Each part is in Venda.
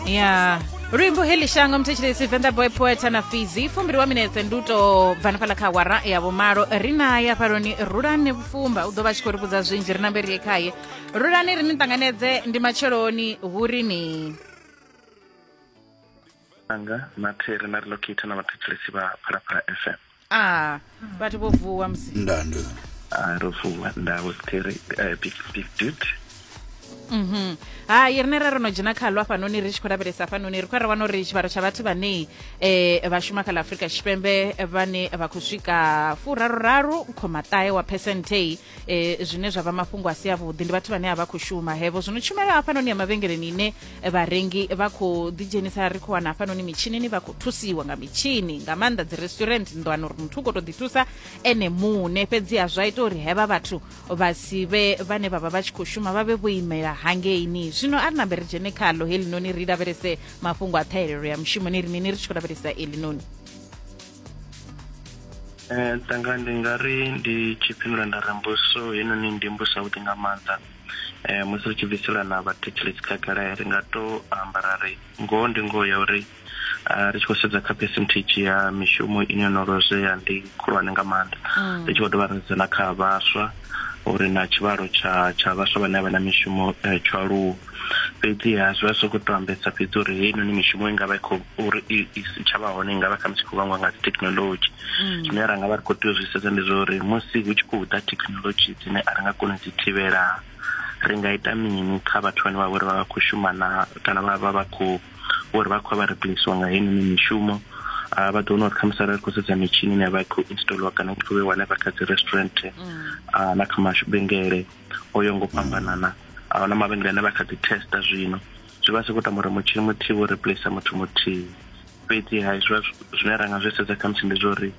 Ya luimbo heḽi shango muthetshelesi, Venḓa Boy Poet na Fizi. Fumbili wa minetse ndi u to bva hanefhaḽa kha awara ya vhumalo. Ri naye hafhaloni Rulani Vhufumba, u ḓo vha tshi khou ri vhudza zwinzhi. Ri nambe ri ye khaye. Rulani, ri ni ṱanganedze, ndi matsheloni, hu ri ni Anga na Theri na Relocator na vhathetshelesi vha Phalaphala FM. A vhathu vho vuwa musi? Ndandu. Ah, ro vuwa ndawo Theri, big big dude. Hai, rine ra ro no dzhena khalo hafhanoni, ri tshi khou lavhelesa hafhanoni, ri khou ra wana uri tshivhalo tsha vhathu vhane vha shuma kha ḽa Afrika Tshipembe vhane vha khou swika furaruraru khoma ṱahe wa phesenthe, zwine zwa vha mafhungo a si avhuḓi, ndi vhathu vhane a vha khou shuma hevo. Zwino tshumelo hafhanoni ya mavhengeleni ine vharengi vha khou ḓidzhenisa, ri khou wana hafhanoni mitshinini vha khou thusiwa nga mitshini nga maanḓa dzi restaurant nḓwana uri muthu u khou tou ḓi thusa ene muṋe, fhedziha zwa ita uri hevha vhathu vha si vhe vhane vha vha vha tshi khou shuma vha vhe vho imela hangeini. Zwino a ri nambe ri dzhene khalo helinoni, ri lavhelese mafhungo a ṱhahelelo ya mushumoni. Ri mini ri tshi khou lavhelesa elinoni? Tanga ndi nga ri ndi tshi fhindula nda ri mbudziso heinoni ndi mbudziso yavhuḓi nga maanḓa. Musi ri tshi bvisela na vhathetshelesi khagala, ri nga to amba ra ri ngoho ndi ngoho ya uri ri tshi khou sedza kha percentage ya mishumo ine yo no lozwea ndi khulwane nga maanḓa. Ri tshi khou dovha ra sedza na kha vhaswa uri na tshivhalo tsha vhaswa vhane a vha na mishumo tsho aluwa. Fhedziha zwi vha zwi khou to ambesa fhedzi uri heinoni mishumo i nga vha i khou uri i si tsha vha hone i nga vha khamusi khou vhangwa nga dzi thekhinolodzhi. Zwine ra nga vha ri khou tea u zwi sedza ndi zwa uri musi hu tshi khou ḓa thekhinolodzhi dzine a ri nga koni u dzi thivhela, ri nga ita mini kha vhathu vhane vha vha uri vha vha khou shuma na kana vha khou uri vha khou vha replaciwa nga heinoni mishumo. Vha ḓo wana uri khamusi arali ri khou sedza mitshini ine ya vha i khou installiwa kana i khou vheiwa hanefha kha dzi restaurant na kha mavhengele o yaho ngo fhambanana, a huna mavhengele ane vha kha ḓi testa zwino, zwi vha zwi khou tamba uri mutshini muthihi wo replace muthu muthihi. Fhedzi ha zwi zwine ra nga zwi sedza khamusi ndi zwa uri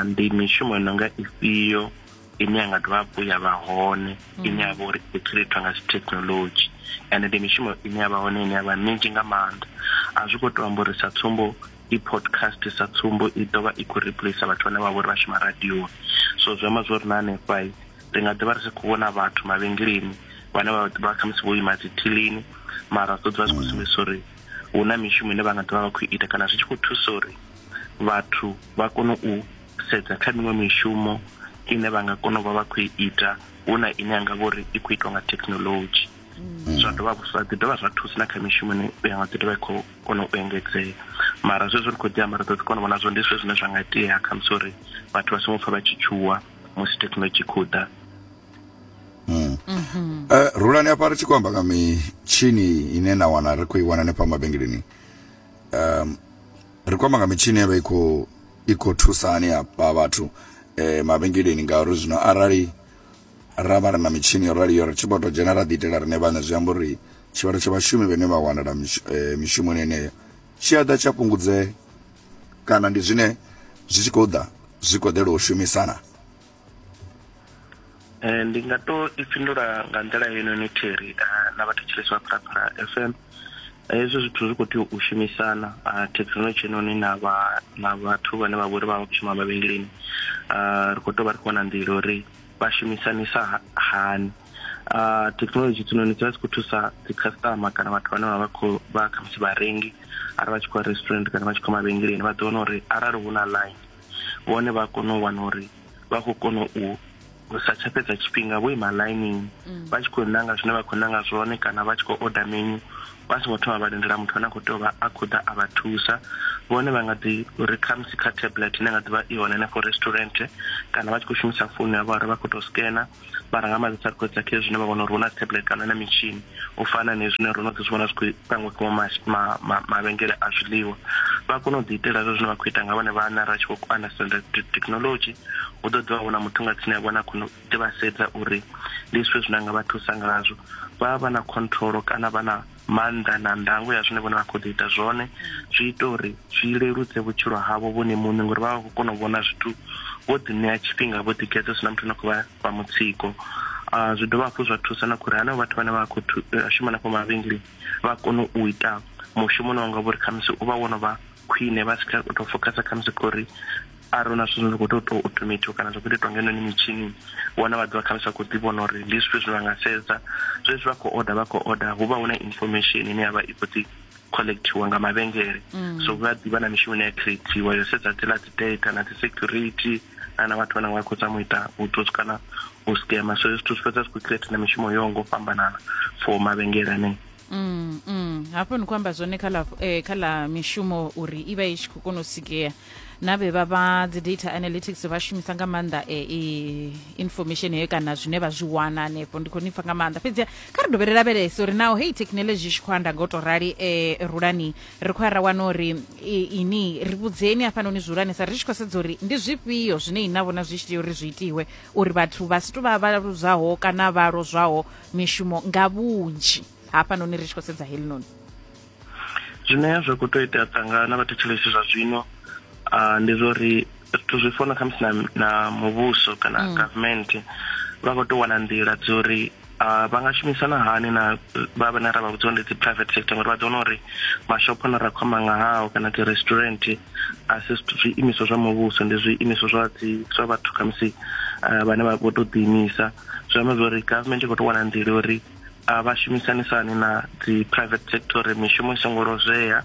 ndi mishumo i nonga ifhio ine ya nga dovha hafhu ya vha hone ine ya vha uri i creatwa nga dzi thekhinolodzhi, ende ndi mishumo ine ya vha hone ine ya vha minzhi nga maanḓa. A zwi khou to amba uri sa tsumbo i podcast sa tsumbo i ḓovha i khou replace vhathu vhane vha vha uri vha shuma radioni. So zwi amba zwori na hanefha ri nga ḓivha ri si khou vhona vhathu mavhengeleni vhane vha ḓovha khamusi vho ima dzi thilini, mara zwi ḓo ḓivha zwi khou sumbedzisa uri hu na mishumo ine vha nga ḓovha vha khou ita kana zwi tshi khou thusa uri vhathu vha kone u sedza kha miṅwe mishumo ine vha nga kona u vha vha khou ita hu na ine ya nga vha uri i khou itwa nga thekhinolodzhi. Zwa dovha zwa ḓi dovha zwa thusa na kha mishumo ine ya nga ḓi dovha i khou kona u engedzea. Mara zwezwo ri khou ḓi amba, ri ḓo ḓi kona u vhona zwo ndi zwithu zwine zwa nga itea khamusi uri vhathu vha songo pfha vha tshi tshuwa musi thekhinolodzhi i khou ḓa. Rulani, afha ri tshi khou amba nga mitshini ine na wana ri khou i wana hanefha mavhengeleni, ri khou amba nga mitshini ya vha i khou thusa hani afha vhathu mavhengeleni? Ngauri zwino arali ra vha ri na mitshini yo raliyo, ri tshi vho to dzhena ra ḓi itela riṋe vhaṋe, zwi amba uri tshivhalo tsha vhashumi vhane vha wanala mishumoni yeneyo tshi a ḓa tsha fhungudzea, kana ndi zwine zwi tshi khou ḓa zwi khou ḓela u shumisana? Ndi nga to i fhindula nga nḓila heinoni Theri na vhathetshelesi vha Phalaphala FM. Hezwo zwithu zwi khou tea u shumisana, thekhinolodzhi heinoni na vha na vhathu vhane vha vhori vha vha khou shuma mavhengeleni. Ri khou tou vha ri khou wana nḓila uri vha shumisanisa hani. Thekhinolodzhi hedzinoni dzi vha dzi khou thusa dzi customer kana vhathu vhane vha vha khou vha khamusi vharengi arali vha tshi khou ya restaurant kana vha tshi khou mavhengeleni, vha ḓo wana uri arali hu na line vhone vha kona u wana uri vha khou kona u sa tsha fhedza tshifhinga vho ima ḽainini vha tshi khou nanga zwine vha khou nanga zwone kana vha tshi khou order menu vha songo thoma vha lindela muthu ane a khou tea u vha a khou ḓa a vha thusa. Vhone vha nga ḓi uri khamusi kha tablet ine nga ḓivha i hone henefho restaurant kana vha tshi khou shumisa founu yavho, arali vha khou tou scanner vha ranga maḓi sa khou kha zwine vha vhona uri hu na tablet kana na mitshini u fana na zwine ro no ḓi zwi vhona zwi khou pangiwa kha mavhengele a zwiḽiwa, vha kone u ḓi itela zwezwo zwine vha khou ita nga vhone vhaṋe. Arali tshi khou understand technology, hu ḓo ḓivha hu na muthu nga tsini ya vhona khou ḓi vha sedza uri ndi zwifhio zwine a nga vha thusa ngazwo. Vha vha na control kana vha na maanḓa na ndango ya zwine vhone vha khou ḓi ita zwone, zwi ita uri zwi leludze vhutshilo havho vhone muṋe ngori vha vha khou kona u vhona zwithu vho ḓi ṋea tshifhinga, vho ḓigeḓa, hu si na muthu ane khou vha fha mutsiko. Zwi dovha hafhu zwa thusa na khori hanevho vhathu vhane vha khou shuma hanefho mavhengeleni vha kone u ita mushumo une wanga vhori khamusi u vha wo no vha khwine, vha si tsha tou fokhasa khamusi khori arali hu na zwithu zwine zwa khou tea u tou automatiwa kana zwa khou tea u itwa nga heinoni mitshini, vhone vha ḓovha khamusi vha khou ḓi vhona uri ndi zwifhio zwine vha nga sedza. Zwezwi vha khou order, vha khou order hu vha hu na information ine ya vha i khou ḓi collectiwa nga mavhengele. So vha ḓivha na mishumo ine ya creatiwa yo sedza dziḽa dzi data na dzi security na vhathu vhane vha khou zama u ita vhutswotswi kana u scammer. So hezwi zwithu zwi fhedza zwi khou create na mishumo yo ngo fhambanana for mavhengele anea. Hafho ni khou amba zwone kha ḽa kha ḽa mishumo uri i vha i tshi khou kona u sikea na vhe vha vha dzi data analytics vha shumisa nga maanḓa information heyo kana zwine vha zwi wana hanefho. Ndi khou ni pfa nga maanḓa, fhedzi kha ri dovhe ri lavhelese uri naho heyi thekhinolodzhi i tshi khou anda nga u tou rali, Rulani, ri khou ya ra wana uri ini ri vhudzeni hafhanoni zwihulwanesa ri tshi khou sedza uri ndi zwifhio zwine ina vhona zwi tshi tea uri zwi itiwe uri vhathu vha si tou vha vha luzaho kana vha lozwaho mishumo nga vhunzhi hafhanoni ri tshi khou sedza helinoni. Zwine zwa khou tou itea ṱanga na vhathetshelesi zwa zwino ndi zwa uri zwithu zwi fana khamusi na, na muvhuso kana government vha khou tou wana nḓila dzo uri vha nga shumisana hani na vha vhane ra vha vhudza ndi dzi private sector, ngori vha ḓo wana uri mashopho ane ra khou amba nga hao kana dzi restaurant a si zwiimiswa zwa muvhuso, ndi zwiimiswa zwa dzi zwa vhathu khamusi vhane vha vho tou ḓiimisa. Zwi amba zwa uri government i khou tou wana nḓila uri vha shumisanisani na dzi private sector uri mishumo i songo lozwea.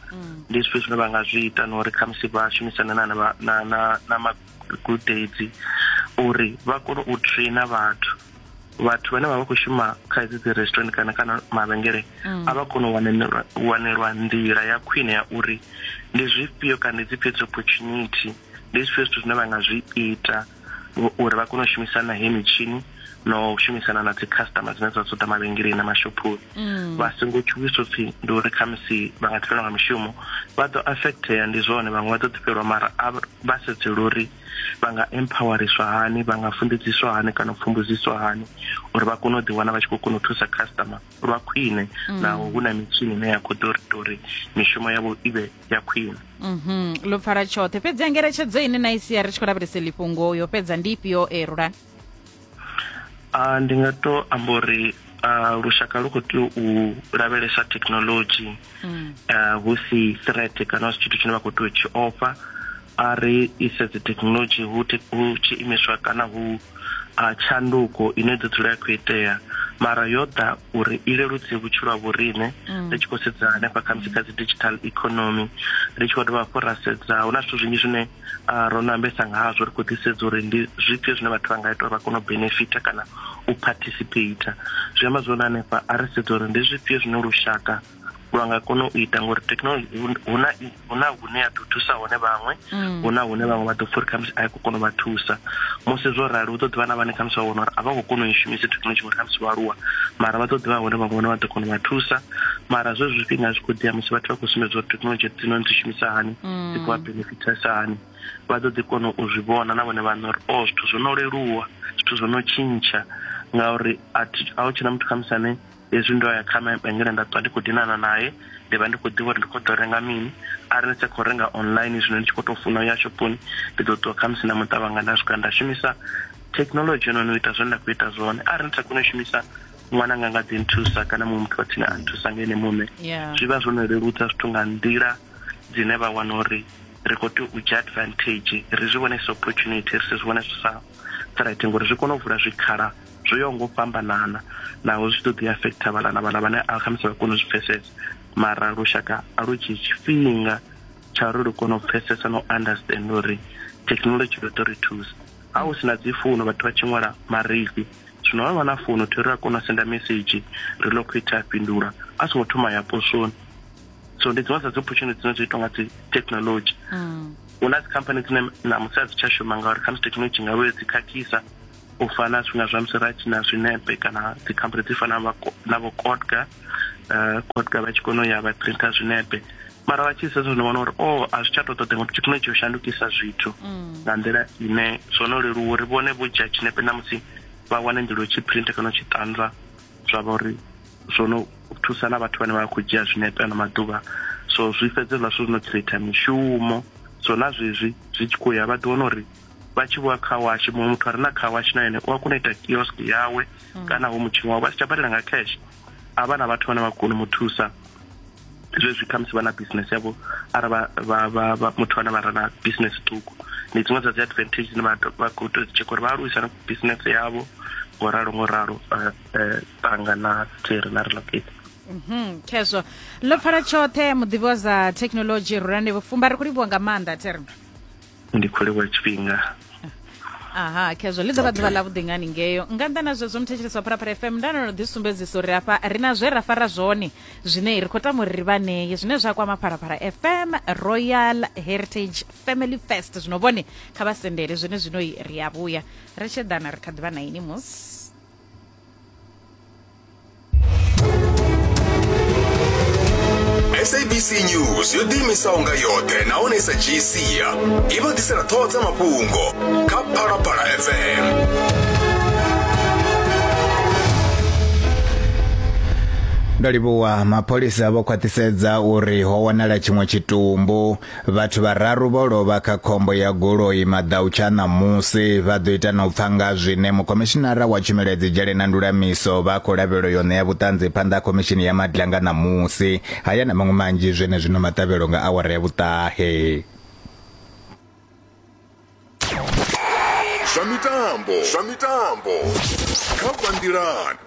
Ndi zwifhio zwine vha nga zwi ita na uri khamusi vha shumisane na na na na magudedzi uri vha kone u trainer vhathu vhane vha vha khou shuma kha hedzi dzi restaurant kana kana mavhengele, a vha kone u wanelwa nḓila ya khwine ya uri ndi zwifhio kana ndi dzifhio dzi opportunity, ndi zwifhio zwithu zwine vha nga zwi ita uri vha kone u shumisana heyi mitshini na u shumisana na dzi customer dzine dza ṱoḓa mavhengeleni na mashophoni. Vha songo tshuwiswa upfhi ndi uri khamusi vha nga ḓifhelwa nga mishumo, vha ḓo affectea, ndi zwone, vhaṅwe vha ḓo ḓifhelwa, mara a vha sedzele uri vha nga empoweriswa hani, vha nga funḓedziswa hani kana u pfumbudziswa hani uri vha kone u ḓiwana vha tshi khou kona u thusa customer lwa khwine, naho hu na mitshini ine ya khou ḓo ita uri mishumo yavho i vhe ya khwine. Ḽo pfala tshoṱhe. Fhedzi ngeletshedzo ine na i sia ri tshi khou lavhelesa iḽi fhungo yo fhedza ndi ifhio, Rulani? Ndi nga to amba uri lushaka lu khou tea u lavhelesa thekinoḽodzhi hu si threat kana hu si tshithu tshine vha khou tea u tshi ofha. A ri ise dzi thekinoḽodzhi hu tshiimiswa kana hu tshanduko ine ḓo dzula ya khou itea, mara yo ḓa uri i leludze vhutshilo ha vhoriṋe. Ri tshi khou sedza hanefha khamusi kha dzi digital economy, ri tshi khou dovha hafhu ra sedza hu na zwithu zwinzhi zwine ro no ambesa nga hazwo, ri khou ḓi sedza uri ndi zwifhio zwine vhathu vha nga ita uri vha kone u benefita kana u participate. Zwi amba zwone hanefha a ri sedza uri ndi zwifhio zwine lushaka lwa nga kona u ita, ngori thekinoḽodzhi huna hune ya ḓo thusa hone vhaṅwe, huna hune vhaṅwe vha ḓo pfha uri khamusi a i khou kona u vha thusa. Musi zwo rali hu ḓo ḓivha na vhane khamusi vha vhona uri a vha khou kona u i shumisa thekinoḽodzhi ngori khamusi vho aluwa, mara vha ḓo ḓivha hone vhaṅwe vhane vha ḓo kona u vha thusa. Mara zwezwi zwifhinga zwi khou ḓiya musi vhathu vha khou sumbedza uri thekinoḽodzhi hedzinoni dzi shumisa hani, dzi khou vha benefitesa hani, vha ḓo ḓi kona u zwi vhona na vhone vhaṋe uri o zwithu zwo no leluwa, zwithu zwo no tshintsha, ngauri a hu tshena muthu khamusi ane hezwi ndo ya kha mavhengele nda ṱwa ndi khou dinana naye, ndi vha ndi khou ḓivha uri ndi khou ḓo renga mini. Arali ndi sa khou renga online zwino ndi tshi khou tou funa u ya shophoni, ndi ḓo ṱuwa khamusi na muṱa wanga nda swika nda shumisa thekinoḽodzhi heinoni u ita zwine nda khou ita zwone. Arali ndi sa koni u shumisa, ṅwananga nga ḓi nthusa kana muṅwe muthu wa tsini a nthusa nga ene muṋe. Zwi vha zwo no leludza zwithu nga nḓila dzine vha wana uri ri khou tea u dzhia advantage, ri zwi vhone sa opportunity, ri si zwi vhone sa threat, ngori zwi kona u vula zwikhala zwo yaho nga u fhambanana, naho zwi tshi ḓo ḓi affecta vhaḽa na vhaḽa vhane a khamusi vha kona u zwi pfesesa, mara lushaka a lu dzhii tshifhinga tsha uri lu kone u pfesesa na u understand uri thekinoḽodzhi ḓo ri thusa. Ha hu si na dzi founu vhathu vha tshi ṅwala marifhi, zwino vha vha na founu thi ri a kona u senda mesedzhi ri locate a fhindula a songo thoma ya posoni. So ndi dziṅwe dza dzi opportunity dzine dzo itwa nga dzi thekinoḽodzhi. Hu na dzi khamphani dzine ṋamusi a dzi tsha shuma ngauri khamusi thekinoḽodzhi nga vho dzi khakhisa, u fana zwifhinga zwa musi ra tshi na zwinepe kana dzi khamphani dzi fana na vho Kotka, Kotka vha tshi kona u ya vha printer zwinepe, mara vha tshi sedza zwino vhona uri o a zwi tsha tou ṱoḓea ngori thekinoḽodzhi yo shandukisa zwithu nga nḓila ine zwo no leluwa uri vhone vho dzhia tshinepe ṋamusi vha wane nḓila yo tshi printer kana u tshi ṱanzwa, zwa vha uri zwo no thusa na vhathu vhane vha khou dzhia zwinepe ano maḓuvha. So zwi fhedze zwa zwithu zwi no creator mishumo. So na zwezwi zwi tshi khou ya vha ḓi wana uri vha tshi vhuya car wash, muṅwe muthu a re na car wash na ene u a kona u ita kiosk yawe kana hu mutshini wawe, vha si tsha badela nga cash, a vha na vhathu vhane vha kona u mu thusa zwezwi khamusi vha na business yavho, arali vha muthu ane vha re na business ṱhukhu. Ndi dziṅwe dza dzi advantage dzine vha khou tea u dzi tsheka uri vha aluwisa na business yavho ngo ralo ngo ralo. Tanga na Terry na Relocate. Mhm, khezwo ḽo pfala tshoṱhe muḓivhi wa za thekhinoḽodzhi Rulani Vhufumba, ri khou livhuwa nga maanḓa theri. Ndi khou livhuwa tshifhinga. Aha, khezwo ḽi ḓo vha ḓuvha ḽavhuḓi ngani ngeyo. Nga nnḓa na zwezwo, muthetshelesi wa Phalaphala FM, nda no ḓi sumbedzisa uri hafha ri na zwe ra fara zwone zwine ri khou tama uri ri vha ṋee, zwine zwa kwama Phalaphala FM Royal Heritage Family Fest. Zwino vhone kha vha sendele zwone zwino ri a vhuya ri tshi ḓana ri kha ḓi vha na ini musi. SABC News yo ḓiimisaho nga yoṱhe nahone sa dzhii sia i vha ḓisela ṱhoho dza mafhungo kha Phalaphala FM. Ndo livhuwa. Mapholisa vho khwaṱhisedza uri ho wanala tshiṅwe tshitumbu. Vhathu vhararu vho lovha kha khombo ya goloi maḓautsha a ṋamusi. Vha ḓo ita na u pfa nga zwine mukhomishinara wa tshumelo ya dzidzhele na ndulamiso vha khou lavhelelwa yo ṋea vhuṱanzi phanḓa ha khomishini ya Madlanga ṋamusi. Haya na maṅwe manzhi zwenezwino maṱavhelo nga awara ya vhuṱahe. Zwa mitambo, zwa mitambo kha Vhanḓilani.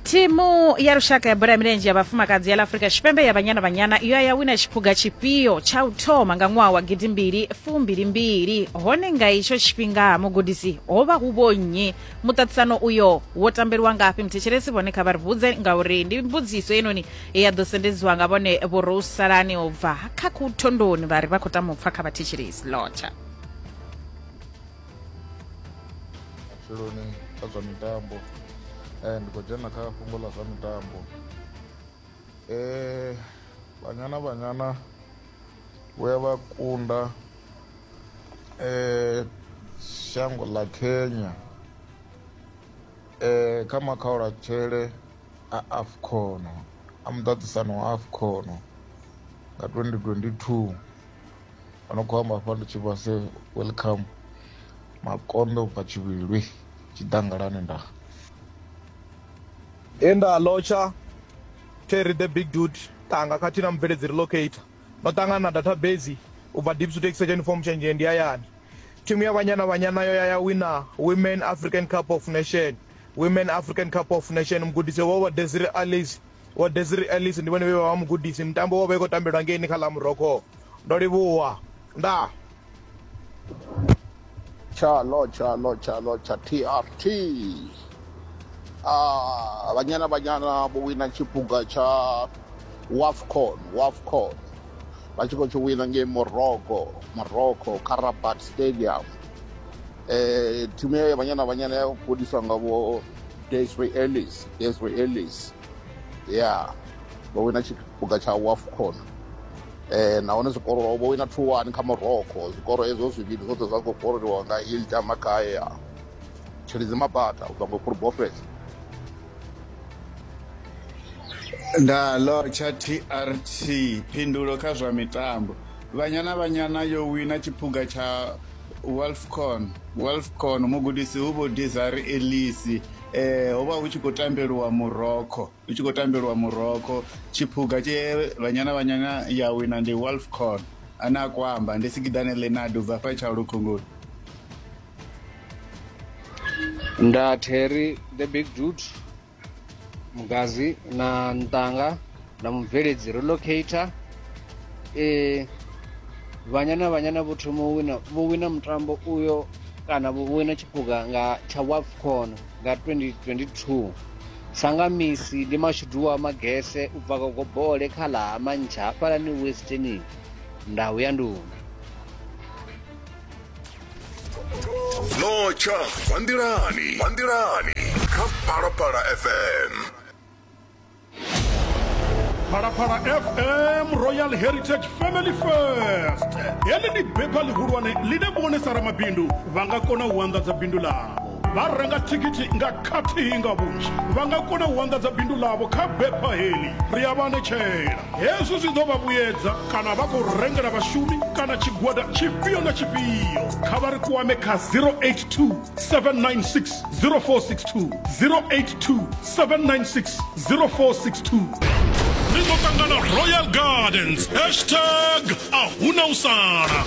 Thimu ya lushaka ya bola ya milenzhe ya vhafumakadzi ya ḽa Afrika Tshipembe ya Banyana Banyana yo ya wina tshiphuga tshifhio tsha u thoma nga ṅwaha wa gidimbili fumbilimbili, hone nga itsho tshifhinga mugudisi ho vha hu vho nnyi? Muṱaṱisano uyo wo tambeliwa ngafhi? Muthetshelesi vhone kha vha ri vhudze ngauri ndi mbudziso heinoni ya ḓo sendedziwa nga vhone Vho Rousalani u bva kha Khuthondoni, vha ri vha khou tama u pfa kha vhathetshelesi. Lotsha. Matsheloni kha zwa mitambo ndi khou dzhena kha fhungo ḽa zwa mitambo Banyana Banyana vho ya vha kunda shango ḽa Kenya kha makhaulatshele a AFCON a muṱaṱisano wa AFCON nga 2022. Vha no khou amba hafha ndi Tshivhase welcome Makonde ubva Tshivhilwi Tshiḓangalani ndaa. He nda lotsha Terry the Big Dude Tanga khathihi na mubveledzi Relocator ndo ṱangana na database u bva Diepsloot Extension Form Tshenzhe ndi hayani. Thimu ya Banyana Banyana yo ya ya wina Women African Cup of Nation Women African Cup of Nation. Mugudisi wavho vho Desiree Ellis Vho Desiree Ellis ndi vhone vhe vha vha mugudisi. Mutambo wo vha i khou tambelwa ngeini kha ḽa Morocco. Ndo livhuwa. Ndaa. Tsha lotsha lotsha lotsha TRT. Ah, Banyana Banyana vho wina tshiphuga tsha WAFCON, WAFCON. Vha tshi khou tshi wina ngei Morocco, Morocco kha Rabat Stadium. Eh, thimu ya Banyana Banyana ya gudiswa nga vho Desiree Ellis, Desiree Ellis. Ya vho wina tshiphuga tsha WAFCON. Eh, nahone zwikoro vho wina 2-1 kha Morocco. Zwikoro hezwo zwivhili zwoṱhe zwa khou koroliwa nga Hilda Makaya. Tshilidzi Mabata u bva ngo Bofes. Nda lotsha TRT phindulo kha zwa mitambo. Banyana Banyana yo wina tshiphuga tsha Wolfcon Wolfcon mugudisi hu vho Desiree Ellis eh ho vha hu tshi khou tambeliwa Morocco hu tshi khou tambeliwa Morocco tshiphuga tshe Banyana Banyana ya wina ndi Wolfcon ane a khou amba ndi Sigidane Leonard u bva fha Tshaulukhungulu. Nda Terry the Big Dude Mugazi na Ntanga na mubveledzi Relocator e Banyana Banyana vho thoma u wina vho wina mutambo uyo kana vho wina tshiphuga nga tsha WAFCON nga 2022 sanga misi ndi mashudu wa Magese u bva Gogobole kha ḽa ha Mantsha hafhalani Western ndau ya nduna. Lotsha Vhanḓilani, Vhanḓilani kha Phalaphala FM. Phalaphala FM Royal Heritage Family First. Heḽi ndi bepha ḽihulwane ḽine vhone sa ramabindu vha nga kona u anḓadza bindu ḽavho. Vha renga thikhithi nga khathihi nga vhunzhi. Vha nga kona u anḓadza bindu ḽavho kha bepha heḽi. Ri a vha anetshela. Hezwi zwi ḓo vha vhuyedza kana vha khou rengela vhashumi kana tshigwada tshifhio na tshifhio. Kha vha ri kwame kha 082 796 0462, 082 796 0462. Ri ḓo ṱangana Royal Gardens, hashtag a huna u sala.